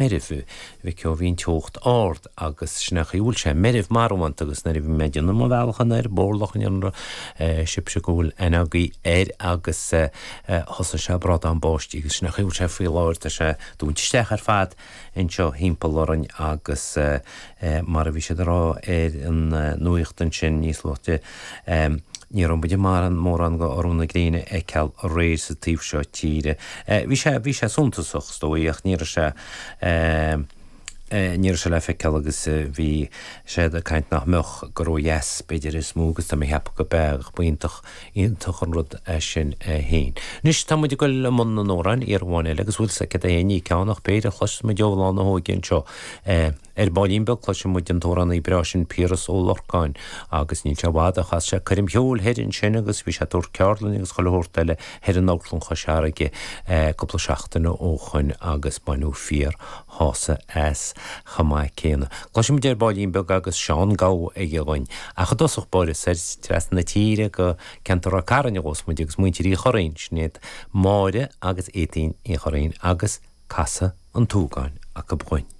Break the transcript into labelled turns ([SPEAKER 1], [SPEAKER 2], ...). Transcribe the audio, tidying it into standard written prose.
[SPEAKER 1] Meirbh, a mhic ó, bhí an teocht ard agus sin é an chaoi a bhfuil sé meirbh marbhánta agus nuair a bhí mé ag déanamh mo bhealach anoir Bórlach an sibhse go bhfuil aithne agaibh air agus thosaigh sé ag brádán báistí agus sin é an chaoi a bhfuil sé faoi láthair, tá sé ag dúint isteach ar fad anseo thimpeall orainn agus mar a bhí siad ag rá ar an nuaíocht ansin níos luaithe Ní raibh muid ag mórán de urú na gréine a fheiceáil aréir sa taobh seo tíre. Bhí sé, bhí sé suntasach, is dóigh, ach ní raibh sé, ní raibh sé le feiceáil agus bhí siad ag caint nach mbeadh gur ó dheas b'fhéidir is mó agus tá mé ag ceapadh go b'ea ach b'iontach, iontach an rud é sin é féin. Anois tá muid ag dul i mbun na n-amhrán, iarraidh amháin eile agus bhfuil 's agat é, ní ceann ach péire a chloisfeas muid ó Lá na hÓige anseo. Ar baillín beag cloisfidh muid an t-amhránaí breá sin Piaras Ó Lorcáin agus níl sé i bhfad ó chas sé coirm cheoil thoir ansin agus bhí sé ag tabhairt ceardlainne agus chuile shórt eile thoir in Amharclann Chois Fharraige cúpla seachtain ó shoin agus baineadh fíor shásamh as chomh maith céanna. Cloisfidh muid ar baillín beag agus Seán Gabha aige dhuinn. Ach i dtosach báire soir trasna na tíre go ceantar Ráth Cairn a ghabhfas muid agus muintir Uí Churraoin, sin iad Máire agus Étaín Uí Churraoin agus Casadh an tSúgáin acu dhuinn.